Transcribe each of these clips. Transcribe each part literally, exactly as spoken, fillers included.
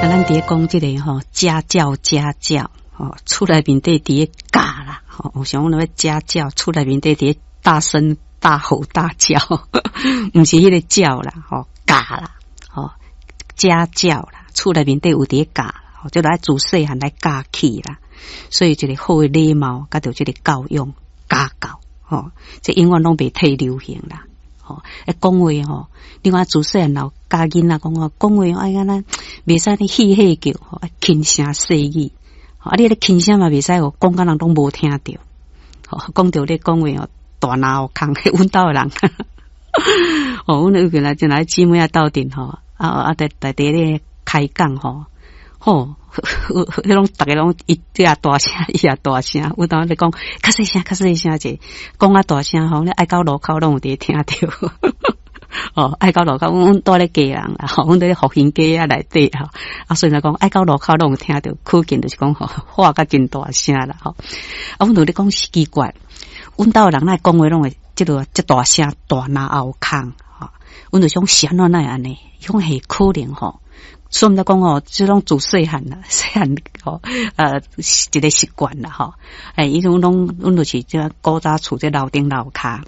咱佇咧講這个吼家教家教吼，厝內面底佇咧教啦，吼，有想講欲家教，厝內面底佇咧大聲大吼大叫，毋是彼个教啦，吼教啦，吼家教啦，厝內面底有佇咧教，就來自細漢來教起啦，所以一个好的禮貌，佮著這个教養家教，吼，這永遠攏袂退流行啦。吼，欸，講話吼，你看自細漢老教囡仔講話，講話愛按呢袂使呢嬉戲叫，吼，愛輕聲細語。啊，你咧輕聲嘛袂使哦，講甲人攏無聽著。吼，講著咧講話哦，大腦空，阮兜的人。哦，阮有個來進來姊妹仔鬥陣吼，啊啊，佇佇佇咧開講吼，吼，彼攏逐个攏伊也大聲，伊也大聲。阮兜咧講較細聲，較細聲者，講較大聲吼，你愛到路口攏有佇聽著。哦，愛到路口，阮阮蹛咧家人啦，吼，阮佇咧復興街仔內底吼，啊，所以來講愛到路口攏有聽著，可見就是講吼，喊甲真大聲啦，吼。啊，阮就咧講奇怪，阮兜的人來講話攏會這个遮大聲，大嚨喉空，吼。阮就想是按怎哪會按呢？伊講係可能吼，所以毋知講吼，這攏自細漢啦，細漢吼，呃，一个習慣啦，吼。欸，伊種攏阮就是這古早厝這樓頂樓跤。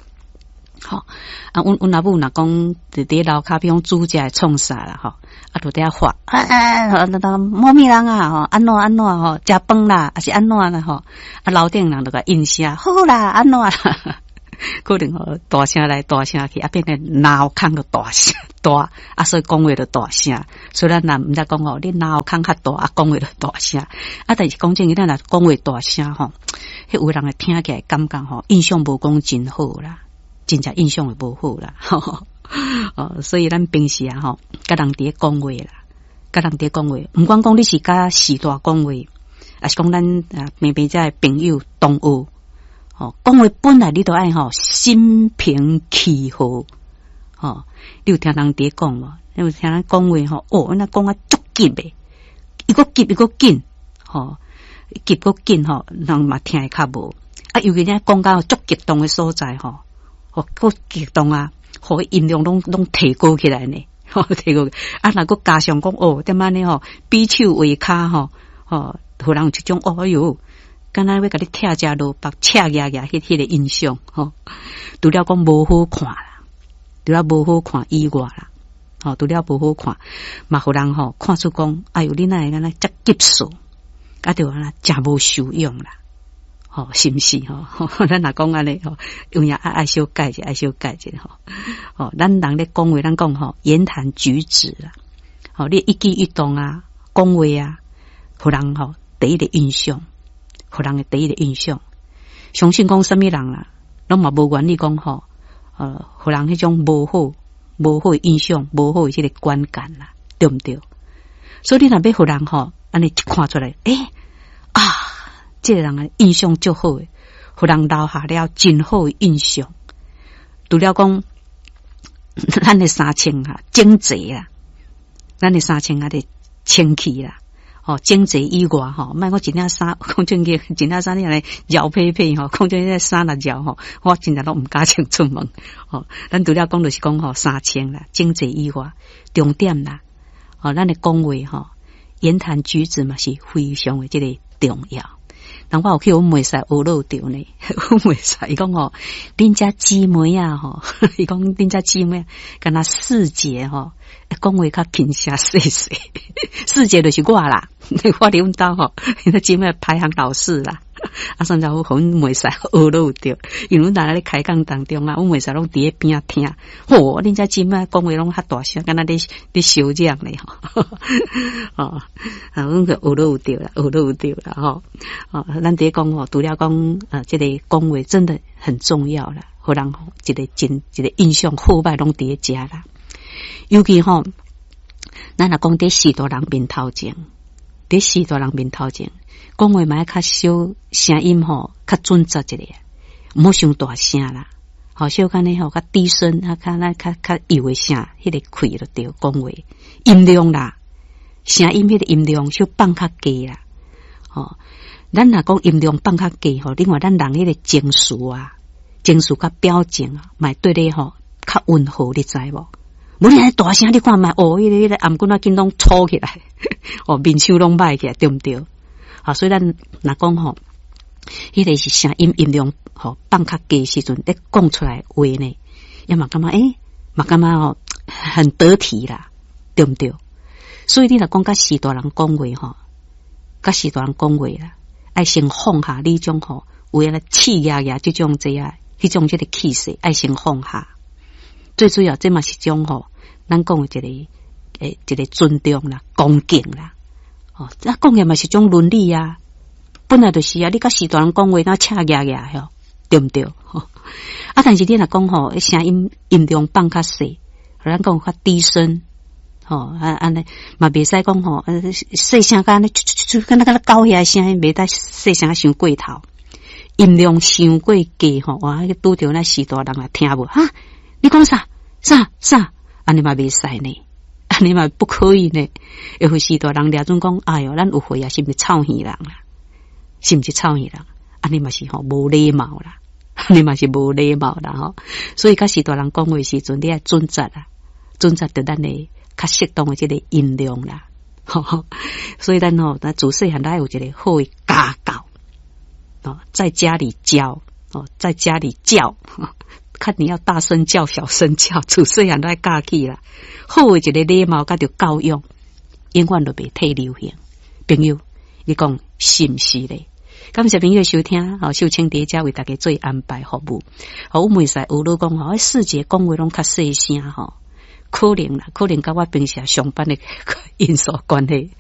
吼，啊，阮阮阿母若講佇佇樓跤，比如講煮食會創啥啦，吼，啊，就佇遐喊，啊啊，啊，某物人啊，吼，按怎按怎吼，食飯啦，抑是按怎啦，吼，啊，樓頂人就共應聲，好啦，按怎啦，可能吼大聲來大聲去，啊，變成腦空就大聲大，啊，所以講話就大聲。所以咱若毋知講吼，你腦空較大，啊，講話就大聲。啊，但是講真，咱若講話大聲吼，彼有人會聽起來感覺吼，印象無講真好啦。真正印象會無好啦，哦，所以咱平時啊，吼，佮人佇咧講話啦，佮人佇咧講話，毋管講你是佮序大講話，抑是講咱啊平平遮的朋友同學，吼，講話本來你都愛吼心平氣和，吼，你有聽人佇咧講無？你有聽人講話吼？哦，那講啊足急的，伊閣急伊閣緊，吼，急閣緊吼，人嘛聽會較無。啊，尤其你講到足激動的所在吼。哦，閣激動啊！予音量攏攏提高起來呢，吼提高。啊，若閣加上講哦，點按呢吼，比手畫跤吼，吼，予人有一種哦，哎喲，敢若欲共你拆食蘿蔔，赤牙牙彼彼个印象吼。除了講無好看啦，除了無好看以外啦，吼，除了無好看，嘛予人吼看出講，哎喲，你哪會按呢遮急躁，啊，著按呢誠無修養啦。吼，是毋是吼？咱若講按呢吼，有影愛愛小改者，愛小改者吼。吼，咱人咧講話，咱講吼，言談舉止啦，吼，你一舉一動啊，講話啊，予人吼第一個印象，予人的第一個印象。相信講啥物人啦，攏嘛無願意講吼，呃，予人彼種無好、無好的印象、無好的這個觀感啦，對毋對？所以你若欲予人吼，按呢一看出來，欸啊！這个人的印象足好的，予人留下了真好的印象。除了講，咱的衫穿啊整齊啦，咱的衫穿啊得清氣啦，吼整齊以外吼，莫講一領衫講正經，一領衫你按呢潲皮皮吼，講真這衫若潲吼，我真正攏毋敢穿出門。吼，咱除了講就是講吼衫穿啦，整齊以外，重點啦，吼咱的講話吼，言談舉止嘛是非常的這个重要。人我有去阮袂使學落著呢，阮袂使伊講吼，恁遮姊妹啊吼，伊講恁遮姊妹敢若四姐吼，講話較輕聲細細，四姐就是我啦，我佇阮兜吼，𪜶姊妹排行老四啦。啊，甚至乎阮袂使學落著，因為阮若咧開講當中啊，阮袂使攏佇咧邊仔聽。吼，恁遮姊妹講話攏較大聲，敢若咧咧相講咧吼。哦，啊，阮去學落著啦，學落著啦吼。哦，咱佇咧講吼，除了講啊，這个講話真的很重要啦，予人吼一个真一个印象好歹攏佇咧遮啦。尤其吼，咱若講佇序大人面頭前，佇序大人面頭前，講話嘛愛較小聲音吼，較準則一下，毋好傷大聲啦。吼，小可呢吼，較低聲，啊，較咱較較幼的聲，彼个氣就對，講話音量啦，聲音彼个音量小放較低啦。吼，咱若講音量放較低吼，另外咱人彼个情緒啊，情緒佮表情啊，嘛對咧吼較溫和，你知無？無你按呢大聲，你看覓哦，彼个彼个頷頸仔緊攏粗起來，哦，面鬚攏䆀起來，對毋對？啊，所以咱若講吼，彼个是聲音音量吼放較低時陣，咧講出來話呢，也嘛感覺欸，嘛感覺吼很得體啦，對毋對？所以你若講佮序大人講話吼，佮序大人講話啦，愛先放下你種吼有影咧刺牙牙這種這啊，彼種這个氣勢，愛先放下。最主要，這嘛是種吼，咱講的一个欸，一个尊重啦、恭敬啦。哦，啊，講的嘛是種倫理啊。本來就是啊，你佮序大人講話，若赤牙牙吼，對毋對？啊，但是你若講吼，聲音音量放較細，咱講較低聲，吼啊按呢嘛袂使講吼，細聲佮按呢，敢若敢若狗遐聲音，袂得細聲傷過頭，音量傷過低吼，哇！拄著那序大人也聽無哈？你講啥？啥啥？按呢嘛袂使呢？按呢嘛不可以呢？會予序大人掠準講，哎喲，咱有歲啊，是毋是臭耳人啦？是毋是臭耳人？按呢嘛是吼無禮貌啦，按呢嘛是無禮貌啦吼。所以佮序大人講話時陣，你愛準則啊，準則著咱的較適當的這个音量啦。所以咱吼，咱自細漢咱有一个好的家教哦，在家裡教哦，在家裡教，看你要大聲叫、小聲叫，自細漢都愛教起啦。好的一个禮貌，佮著教養，永遠都袂退流行。朋友，你講是毋是咧？感謝朋友收聽，好，秀清佇遮為大家做安排服務。好，我袂使學你講吼，世界講話攏較細聲吼，可能啦，可能佮我平時上班的因素關係。哦。